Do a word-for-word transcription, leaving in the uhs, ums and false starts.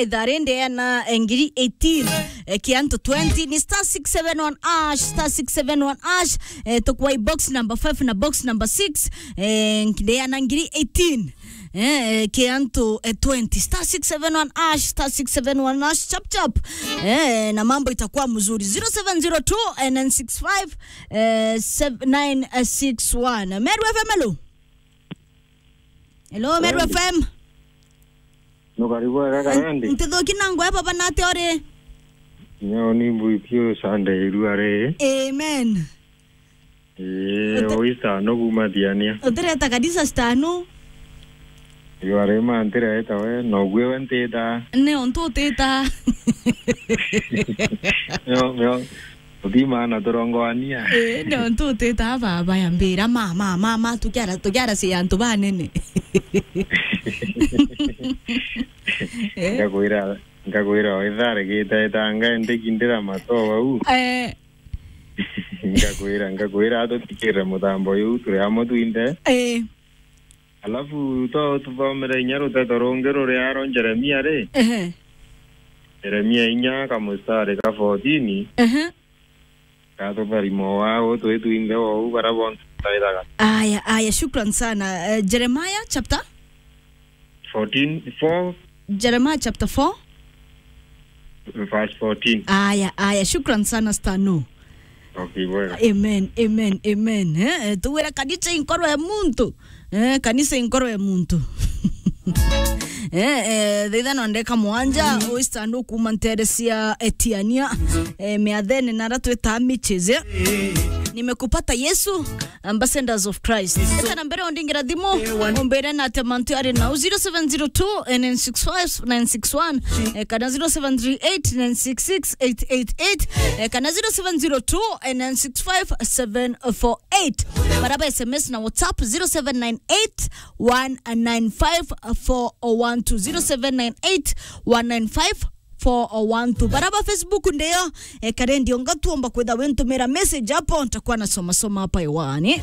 Ithaa ri ndeana, eh, ngiri eighteen, eh, ki antu twenty, ni star six seven one hash, star six seven one hash, eh, tukwai box number five na box number six, eh, ndeana ngiri eighteen, eh, eh, ki antu, eh, twenty, star six seven one hash, star six seven one hash, chap chap, eh, na mambo itakuwa mzuri. Zero seven zero two, eh, nine six five, eh, seven nine six one. Meru F M, hello? Hello, Meru F M. Nukari bwega Karendi? Ntithuki na ngwe baba, nate uri? Nyo ni mbui piu Sunday irua ri. Amen. Ii, Uti- uista no kuma Thiania. Utireta kanisa stanu? Irua ri ma ntireta we, no gwe we ntita. Ni untu utita. Nyo, nyo. Uthimana turongoania. Ii, ni untu utita baba ya mbira, ma, ma, ma, ma, tukiara, tukiara si antu banene. Eh? Ngakwira, ngakwira, withare gita itanga ndiki ndira matoa u. Eh. Ngakwira, ngakwira, tutikire mutambo yu, turi amwe twinthe. Eh. Alafu, to tuthomere inya ruteto rungi ruri aro Jeremia ri. Ehe. Jeremia inya kamustari ka fourteen. Ehe. Gatutharima o wau, twi twinthe o u, bara bonthe tutaithaga. Aya, aya, shukran sana. Eh, Jeremiah chapter? Fourteen, four. Jeremiah chapter four? Verse fourteen. Aya, aya, shukran sana, Stano. Okay, bwega. Amen, amen, amen. Eh, eh, tuwira kanisa inkorwe muntu. Eh, kanisa inkoro ya muntu. Eh, eh, thaa ithano na ndagika mwanja, Oyster ndu kuma ntere cia, eh, Tiania, eh, miathene nara twita Mitches, eh. Nimekupata Yesu, Ambassadors of Christ. Eka na mbere undingira thimu, umbere na ate mantu ari nau, zero seven zero two, nine six five, nine six one, eh, kana zero seven three eight, nine six six, eight eight eight, eh, kana zero seven zero two, nine six five, seven four eight. Baraba S M S na WhatsApp, zero seven nine eight, one nine five, four one two, zero seven nine eight, one nine five, four one two. Baraba Facebook ndeyo, eh, Karendi onga tuomba kwitha wintumira message hapo, ntakuwa nasoma soma hapa hewani.